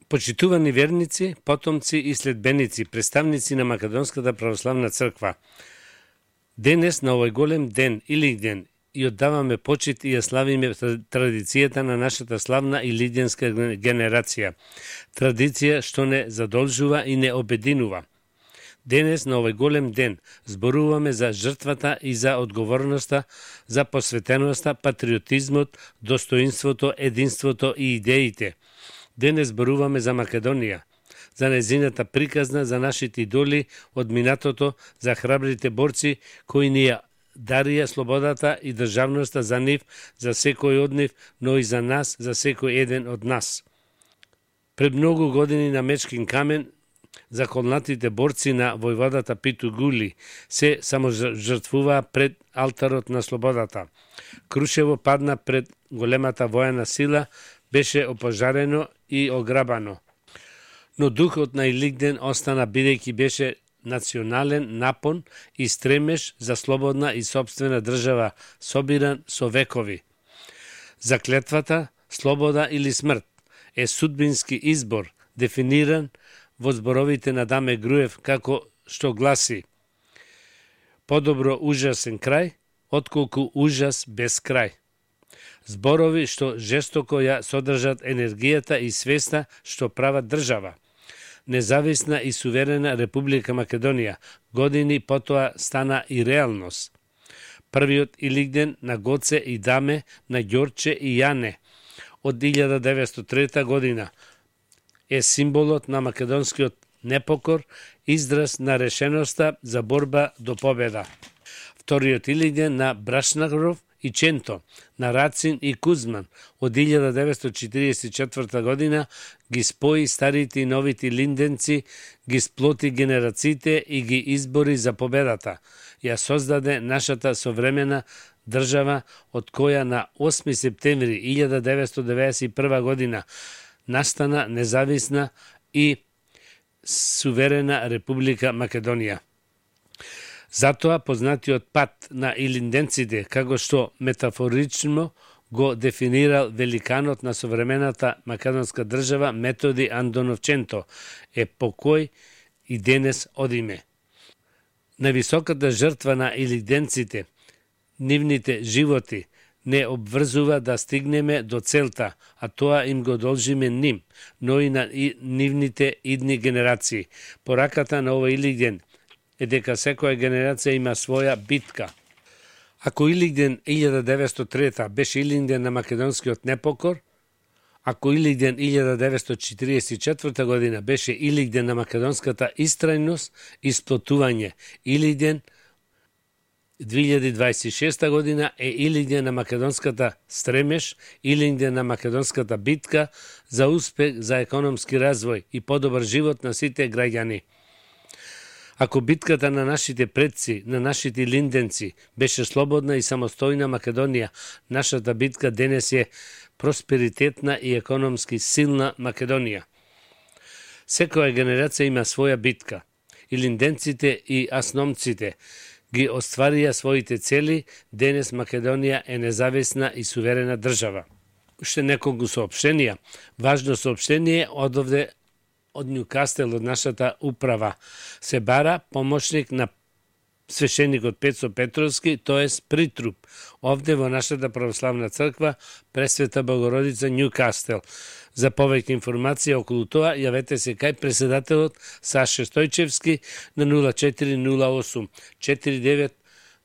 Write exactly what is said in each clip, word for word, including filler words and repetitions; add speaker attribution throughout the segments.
Speaker 1: Почитувани верници, потомци и следбеници, представници на Македонската православна црква. Денес на овој голем ден, Илигден, и оддаваме почит и ја славиме традицијата на нашата славна илигденска генерација. Традиција што не задолжува и не обединува. Денес на овој голем ден зборуваме за жртвата и за одговорноста, за посветеноста, патриотизмот, достоинството, единството и идеите. Денес зборуваме за Македонија, за незината приказна, за нашите идоли од минатото, за храбрите борци кои ни ја дарија слободата и државноста за нив, за секој од нив, но и за нас, за секој еден од нас. Пред многу години на Мечкин камен заколнатите борци на војводата Питу Гули се саможртвуваа пред алтарот на слободата. Крушево падна пред големата војна сила, беше опожарено и ограбано. Но духот на Илигден остана, бидејќи беше национален напон и стремеж за слободна и собствена држава, собиран со векови. Заклетвата, слобода или смрт, е судбински избор, дефиниран во зборовите на Даме Груев, како што гласи: подобро ужасен крај, отколку ужас без крај. Зборови што жестоко ја содржат енергијата и свеста што прават држава. Независна и суверена Република Македонија години потоа стана и реалност. Првиот Илигден на Гоце и Даме, на Ѓорче и Јане од илјада деветстотини и трета година е символот на македонскиот непокор, израз на решеноста за борба до победа. Вториот Илигден на Брашнаров и Ченто, на Рацин и Кузман од илјада деветстотини и четиридесет и четврта година ги спои старите и новите линденци, ги сплоти генерациите и ги избори за победата. Ја создаде нашата современа држава, од која на осми септември илјада деветстотини деветдесет и прва година настана независна и суверена Република Македонија. Затоа познатиот пат на илинденците, како што метафорично го дефинирал великанот на современата македонска држава Методи Андонов Ченто, е покој и денес одиме. Највисоката жртва на илинденците, нивните животи, не обврзува да стигнеме до целта, а тоа им го должиме ним, но и на и, нивните идни генерации. Пораката на овој Илигден е дека секоја генерација има своја битка. Ако Илигден илјада деветстотини и трета беше Илигден на македонскиот непокор, ако Илигден илјада деветстотини и четиридесет и четврта година беше Илигден на македонската истрајност и сплотување, Илигден две илјади дваесет и шеста година е Илигден на македонската стремеж, Илигден на македонската битка за успех, за економски развој и подобар живот на сите граѓани. Ако битката на нашите предци, на нашите линденци, беше слободна и самостојна Македонија, нашата битка денес е просперитетна и економски силна Македонија. Секоја генерација има своја битка. И линденците и асномците ги остварија своите цели, денес Македонија е независна и суверена држава. Уште неколку соопштенија. Важно соопштение од овде од Њукастел, од нашата управа. Се бара помошник на свешеникот Пецо Петровски, тоест притруп, овде во нашата православна црква Пресвета Богородица Њукастел. За повеќе информација околу тоа, јавете се кај председателот Саше Стојчевски на нула четири нула осум четири девет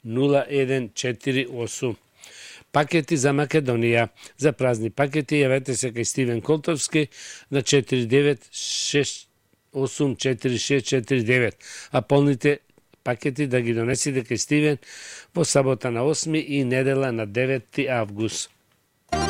Speaker 1: нула еден четири осум. Пакети за Македонија. За празни пакети јавете се кај Стивен Колтовски на четири девет шест осум четири шест четири девет, а полните пакети да ги донесите кај Стивен во сабота на осми и недела на деветти август.